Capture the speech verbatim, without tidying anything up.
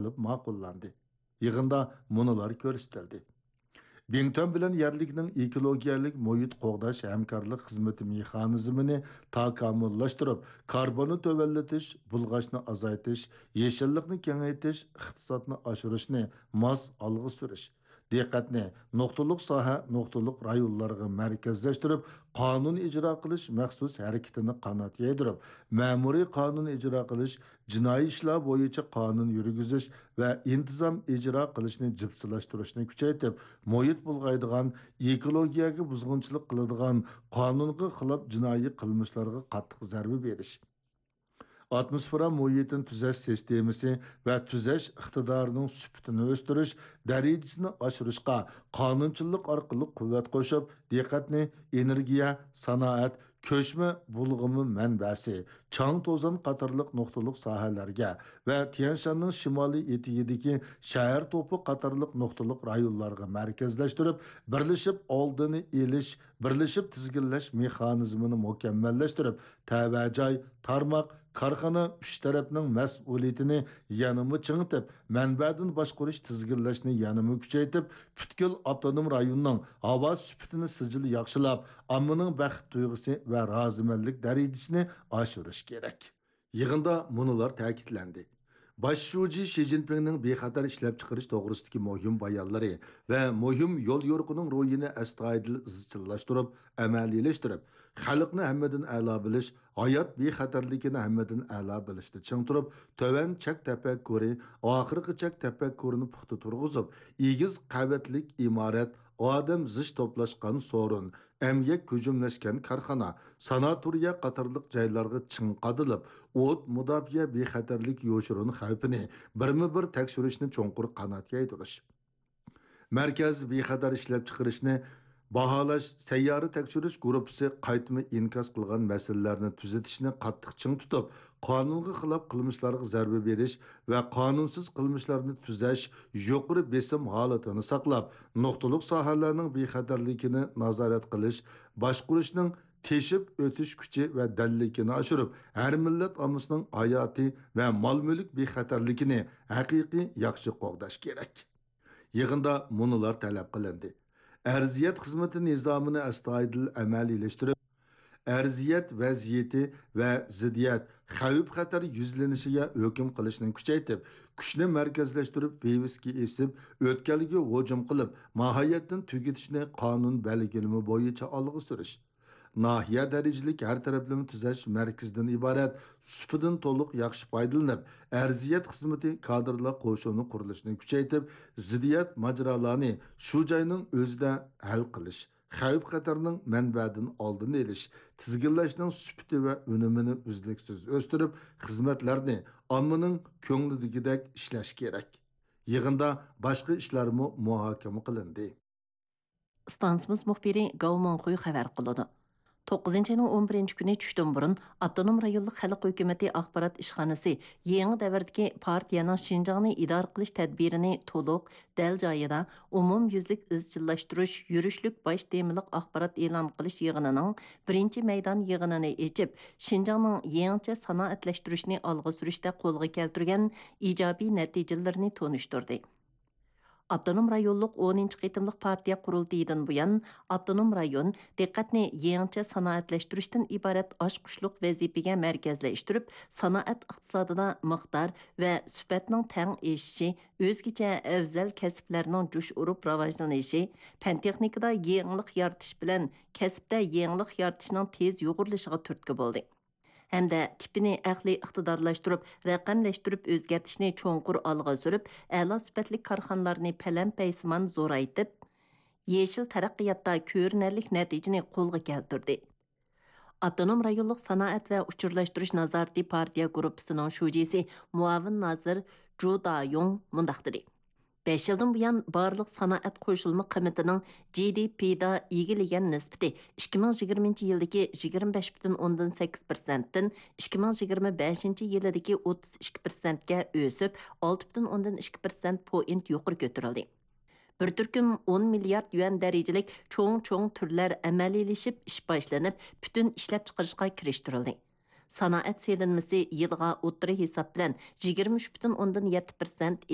قىلىپ ماقۇللاندى. يىغىندا مۇنۇلار كۆرسىتىلدى. بىڭتۈەن بىلەن يەرلىكنىڭ ئېكولوگىيەلىك مۇھىت قوغداش ھەمكارلىق خىزمىتى مېخانىزمىنى تاكامۇللاشتۇرۇپ، كاربوننى تۆۋەنلىتىش، بۇلغاشنى ئازايتىش، يېشىللىقنى كېڭەيتىش، ئىقتىسادنى ئاشۇرۇشنى ماس ئالغا سۈرۈش، دىققەتنى نۇقتىلىق ساھە، نۇقتىلىق رايونلارغا مەركەزلەشتۈرۈپ، قانۇن ئىجرا قىلىش مەخسۇس ھەرىكىتىنى قانات يايدۇرۇپ، مەمۇرىي قانۇن ئىجرا قىلىش، جىنايى ئىشلار بويىچە قانۇن يۈرگۈزۈش ۋە ئىنتىزام ئىجرا قىلىشنى جىپسىلاشتۇرۇشنى كۈچەيتىپ، مۇھىت بۇلغايدىغان، ئېكولوگىيەگە بۇزغۇنچىلىق قىلىدىغان، قانۇنغا خىلاپ جىنايى قىلمىشلارغا قاتتىق زەربە بېرىش، ئاتموسفېرا مۇھىتىنى تۈزەش سىستېمىسى ۋە تۈزەش ئىقتىدارىنىڭ سۈپىتىنى ئۆستۈرۈش، دەرىجىسىنى ئاشۇرۇشقا قانۇنچىلىق ئارقىلىق قۇۋۋەت قوشۇپ، دىققەتنى ئېنېرگىيە، سانائەت، كۆچمە بۇلغىما مەنبەسى، چاڭ توزان قاتارلىق نۇقتىلىق ساھەلەرگە ۋە تيەنشاننىڭ شىمالىي ئېتىكىدىكى شەھەر توپى قاتارلىق نۇقتىلىق رايونلارغا مەركەزلەشتۈرۈپ، بىرلىشىپ ئالدىنى ئېلىش، بىرلىشىپ تىزگىنلەش مېخانىزمىنى مۇكەممەللەشتۈرۈپ، تەۋە جاي، تارماق، كارخانا ئۈچ تەرەپنىڭ مەسئۇلىيىتىنى يەنىمۇ چىڭىتىپ، مەنبەدىن باشقۇرۇش تىزگىنلەشنى يەنىمۇ كۈچەيتىپ، پۈتكۈل ئاپتونوم رايوننىڭ ھاۋا سۈپىتىنى سىجىل ياخشىلاپ، ئاممىنىڭ بەخت تۇيغۇسى ۋە رازىمەنلىك دەرىجىسىنى ئاشۇرۇش كېرەك. يىغىندا مۇنۇلار تەكىتلەندى. باش شۇجى شى جىنپىڭنىڭ بىخەتەر ئىشلەپچىقىرىش توغرىسىدىكى مۇھىم بايانلىرى ۋە مۇھىم يوليورۇقىنىڭ روھىنى ئەستايىدىل ئىزچىللاشتۇرۇپ، ئەمەلىيلەشتۈرۈپ، خەلقنى ھەممىدىن ئەلا بىلىش، ھايات بىخەتەرلىكىنى ھەممىدىن ئەلا بىلىشتە چىڭ تۇرۇپ، تۆۋەن چەك تەپەككۇرى، ئاخىرقى چەك تەپەككۇرىنى پۇختا تۇرغۇزۇپ، ئېگىز قەۋەتلىك ئىمارەت، ئادەم زىچ توپلاشقان سورۇن، ئەمگەك ھۇجۇملاشكان كارخانا، ساناتورىيە قاتارلىق جايلارغا چىڭ قادىلىپ، ئوت مۇداپىئە بىخەتەرلىك يوشۇرۇن خەۋپىنى بىرمۇ بىر تەكشۈرۈشنى چوڭقۇر قانات يايدۇرۇش. مەركەز بىخەتەر ئىشلەپچىقىرىشنى باھالاش سەييارە تەكشۈرۈش گۇرۇپپىسى قايتما ئىنكاس قىلغان مەسىلىلەرنى تۈزىتىشنى قاتتىق چىڭ تۇتۇپ، قانۇنغا خىلاپ قىلمىشلارغا زەربە بېرىش ۋە قانۇنسىز قىلمىشلارنى تۈزەش يۇقىرى بېسىم ھالىتىنى ساقلاپ، نۇقتىلىق ساھەلەرنىڭ بىخەتەرلىكىنى نازارەت قىلىش، باشقۇرۇشنىڭ تېشىپ ئۆتۈش كۈچى ۋە دەللىكىنى ئاشۇرۇپ، ھەر مىللەت ئاممىسىنىڭ ھاياتى ۋە مال-مۈلۈك بىخەتەرلىكىنى ھەقىقىي ياخشى قوغداش كېرەك. يىغىندا مۇنۇلار تەلەپ قىلىندى: ئەرزىيەت خىزمىتى نىزامىنى ئەستايىدىل ئەمەلىيلەشتۈرۈپ، ئەرزىيەت ۋەزىيىتى ۋە زىددىيەت، خەۋپ-خەتەر يۈزلىنىشىگە ھۆكۈم قىلىشنى كۈچەيتىپ، كۈچنى مەركەزلەشتۈرۈپ، ۋىۋىسكا ئېسىپ، ئۆتكەلگە ھۇجۇم قىلىپ، ماھىيەتتىن تۈگىتىشنى قانۇن بەلگىلىمە بويىچە ئالغا سۈرۈش. ناھىيە دەرىجىلىك ھەر تەرەپلىمە تۈزەش مەركىزىدىن ئىبارەت سۇپىدىن تولۇق ياخشى پايدىلىنىپ، ئەرزىيەت خىزمىتى كادىرلار قوشۇنى قۇرۇلۇشىنى كۈچەيتىپ، زىددىيەت ماجىرالارنى شۇ جاينىڭ ئۆزىدە ھەل قىلىش، خەۋپ-خەتەرنىڭ مەنبەدىن ئالدىنى ئېلىش، تىزگىنلەشنىڭ سۈپىتى ۋە ئۈنۈمىنى ئۈزلۈكسىز ئۆستۈرۈپ، خىزمەتلەرنى ئاممىنىڭ كۆڭلىدىكىدەك ئىشلەش كېرەك. يىغىندا باشقا ئىشلارمۇ مۇھاكىمە قىلىندى. ئىستانسىمىز مۇخبىرى گاۋ مىڭخۇي خەۋەر قىلىدۇ. توققۇزىنچى ئاينىڭ ئون بىرىنچى كۈنى چۈشتىن بۇرۇن، ئاپتونوم رايونلۇق خەلق ھۆكۈمىتى ئاخبارات ئىشخانىسى يېڭى دەۋردىكى پارتىيەنىڭ شىنجاڭنى ئىدارە قىلىش تەدبىرىنى تولۇق، دەل جايىدا، ئومۇميۈزلۈك ئىزچىللاشتۇرۇش يۈرۈشلۈك باش تېمىلىق ئاخبارات ئېلان قىلىش يىغىنىنىڭ بىرىنچى مەيدان يىغىنىنى ئېچىپ، شىنجاڭنىڭ يېڭىچە سانائەتلەشتۈرۈشنى ئالغا سۈرۈشتە قولغا كەلتۈرگەن ئىجابىي نەتىجىلىرىنى تونۇشتۇردى. ئاپتونوم رايونلۇق ئونىنچى قېتىملىق پارتىيە قۇرۇلتىيىدىن بۇيان، ئاپتونوم رايون دىققەتنى يېڭىچە سانائەتلەشتۈرۈشتىن ئىبارەت ئاچقۇچلۇق ۋەزىپىگە مەركەزلەشتۈرۈپ، سانائەت ئىقتىسادىدا مىقدار ۋە سۈپەتنىڭ تەڭ ئېشىشى، ئۆزگىچە ئەۋزەل كەسىپلەرنىڭ جۇش ئۇرۇپ راۋاجلىنىشى، پەن-تېخنىكىدا يېڭىلىق يارىتىش بىلەن كەسىپتە يېڭىلىق يارىتىشنىڭ تېز يۇغۇرۇلۇشىغا تۈرتكە بولدى. ھەمدە تىپىنى ئەقلىي ئىقتىدارلاشتۇرۇپ، رەقەملەشتۈرۈپ ئۆزگەرتىشنى چوڭقۇر ئالغا سۈرۈپ، ئەلا سۈپەتلىك كارخانىلارنى پەلەمپەيسىمان زورايتىپ، يېشىل تەرەققىياتتا كۆرۈنەرلىك نەتىجىنى قولغا كەلتۈردى. ئاپتونوم رايونلۇق سانائەت ۋە ئۇچۇرلاشتۇرۇش نازارىتى پارتىيە گۇرۇپپىسىنىڭ شۇجىسى، مۇئاۋىن نازىر جۇ دايۇڭ مۇنداق دېدى: بەش يىلدىن بۇيان، بارلىق سانائەت قوشۇلما قىممىتىنىڭ جى دى پىدا ئىگىلىگەن نىسبىتى ئىككى مىڭ يىگىرمىنچى يىلدىكى يىگىرمە بەش پۈتۈن ئوندىن سەككىز پىرسەنتتىن ئىككى مىڭ يىگىرمە بەشىنچى يىلىدىكى ئوتتۇز ئىككى پىرسەنتكە ئۆسۈپ، ئالتە پۈتۈن ئوندىن ئىككى پىرسەنت پوينت يۇقىرى كۆتۈرۈلدى. بىر تۈركۈم ئون مىليارد يۈەن دەرىجىلىك چوڭ-چوڭ تۈرلەر ئەمەلىيلىشىپ، ئىش باشلىنىپ، پۈتۈن ئىشلەپچىقىرىشقا كىرىشتۈرۈلدى. سانائەت سېلىنمىسى يىلغا ئوتتۇرا ھېساب بىلەن يىگىرمە ئۈچ پۈتۈن ئوندىن يەتتە پىرسەنت